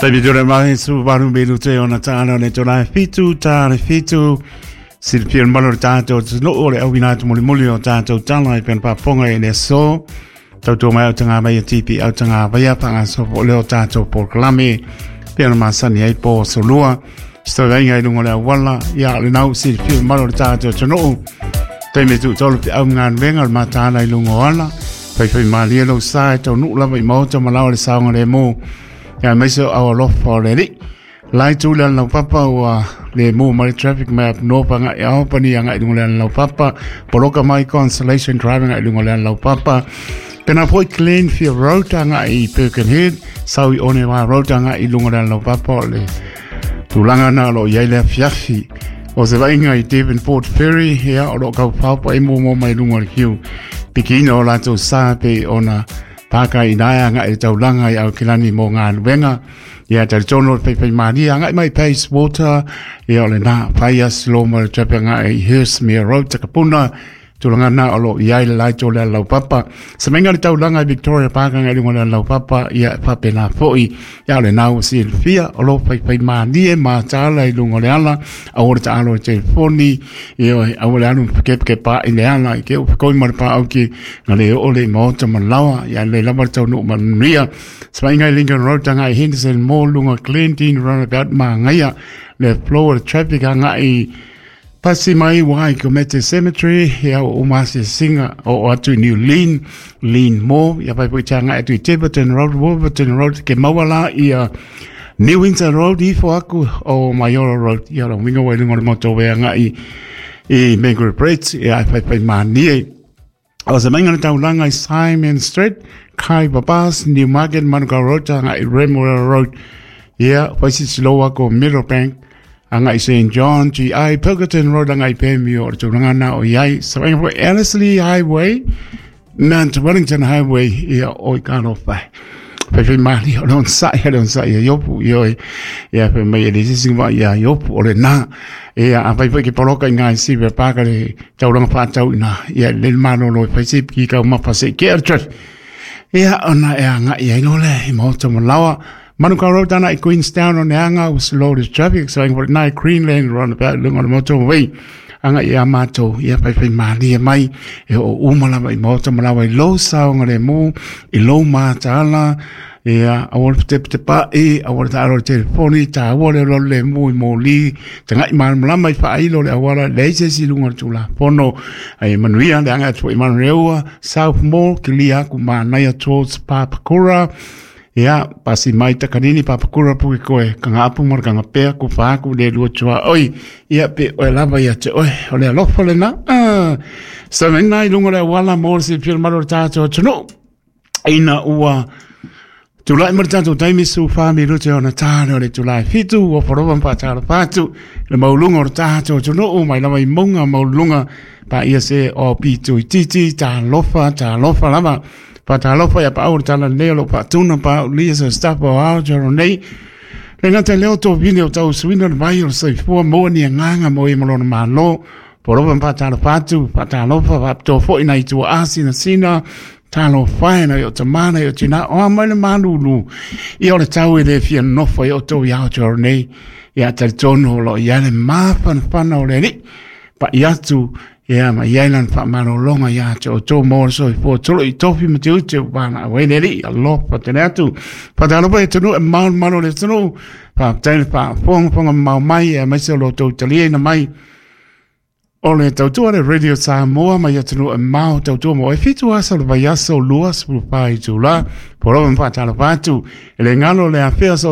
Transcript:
Taimi tore mai su varu me te ona tāna le tōna fitu tā le fitu silipia malo le tātou te noo le au ina moli moli o tātou tala i pena paponga i le so tautua mai au tanga mai tipi au tanga vaia panga so po leo tātou polokalame pena masani ai po solua Sto venga i lunga le awala ia le nau silipia malo le tātou te noo taimi tu tolu te au ngā venga le matana i lunga o ala fai fai malia lo sa e tau nuu lava i maota ma lao le saonga le mō ia mai se au alofa o le ri lai tu le lau papa ua le mō mai traffic map no panga e au pani anga i lunga le lau papa poloka mai Constellation Driving i lunga le lau papa pena foi Glenfield Road anga i Birkenhead sau i Onewa Road anga i lunga le lau papa o le tulaga na o lo iai le afiafi o se vaaiga i Devonport Ferry ia o loo kaupapa e muamua mai luga o le kiu pikiina o latou sa pe ona paka i nae anga e taulaga i Aokelani mo galuega ia talitonu o le faifaimalie agai mai Pace Water ia o lenā fai asilo ma le traffic agai i Hurstmere Road Takapuna tulaga na o loo iai le laito le laupapa semaiga le taulaga i Victoria Park agai luga le laupapa ia e faapena fo'i ia o lenā ua silafia o loo faifaimalie matala i luga o le ala aua le taalo i telefoni ia oe aua le alu kepakepa'i le ala i ke ufekoi ma le paauki na le oo le i maota ma laoa ia le lava le taunuu manuia semaiga i Lincoln Road agai Henderson Mall luga Glendene Roundabout magaia le flow o le traffic agai Pasi mai wai ko Mete Cemetery, ia o umasi singa o atu i New Lean, Lean Mo, ia pai pui tanga atu i Tiverton Road, Wolverton Road, ke mauala ia New Windsor Road ifo aku o Maioro Road, ia lo winga wai lunga o le moto wea ngai i Mangere Bridge, ia ai pai pai manie. O se mainga le taulaga i Simon Street, Kai Babas, Newmarket, Manukau Road, agai Remuera Road. Ia, Waisisiloa ko Middlebank, agai St. John, GI, Pilkerton Road, agai Pemio, o le tulaga na o iai. Sa mainga foi Ellerslie Highway, Mount Wellington Highway, ia o i kalofa. Fai fai mali o le onsa'i le onsa'i e Iopu i oe. Ia fai mai e le sisi wa ia Iopu o le nā. Ia a fai fai ke poloka i ngā si ve pāka le tauranga whātau ina. Ia le malolo e fai se ki kau mapa se ke ar traffic. Ia ona e anga ia ino le i maota mo lawa. Manukau Road ana i Queenstown o ne anga was loaded traffic so ingo nai Greenland roundabout lunga o le motorway anga ia mātou ia pai pai malie mai e o uma lava i maota ma lawa i lou saoga le mū i lou mataala ia aua le petepetepa'i aua le taalo i le telefoni tāua le lolo le mū i mōlī taga'i malamalama i faailo le auala leai se isi i luga o le tulafono ai manuia le aga atu i Manureua South Mall kilia aku manaia towards Papakura. Ia, pasi mai takanini papakura puke koe, kanga apu ma le kanga pea ku whaaku le lua tua oi. Ia, pe oe lava ia te oe, o le alofa le na. Ah, sa mena i lunga le awala mo le silafia le malo le tātou atunuu. Ina ua tulai ma le tātou taimi su wha mi rute ona tāne o le tulai fitu, ua wharova mpa tāra pātu, le maulunga o le tātou atunuu, mai lava i maunga maulunga, pa ia se o pitu i titi, tālofa, tālofa lava. Faatalofa ia paau le tala lelei o loo faatuna paaulia se staff o Aotearoa nei. Le gata i lea o tovine o tausuina le vai o le soifua maua ni agaga mo e ma lona Malo. Polofa ma faatalofa atu, faatalofa faapitoa foi nai tuaa sinasina, talofa e nai o tama nai o tina, o a mai le malulu. Ia o le tau e le fia nofo i o tou i Aotearoa nei. Ia talitonu o loo i ai le mafanafana o le Alii. Pai atu ia ma iai lana faamalologa iā te outou mo le soifua tolo i tofi ma te ute ua valaau ai le Alii alofa tele atu. Faatalofa i atunuu e malumalu o le atunuu, faafetai le faafogafoga mamao mai aemaise o lo outou taliaina mai o le tautua le Radio Samoa mai atunuu e mao tautua mo e 7 aso le vaiaso 24 itulā. Polofa ma faatalofa atu e le galo le afea.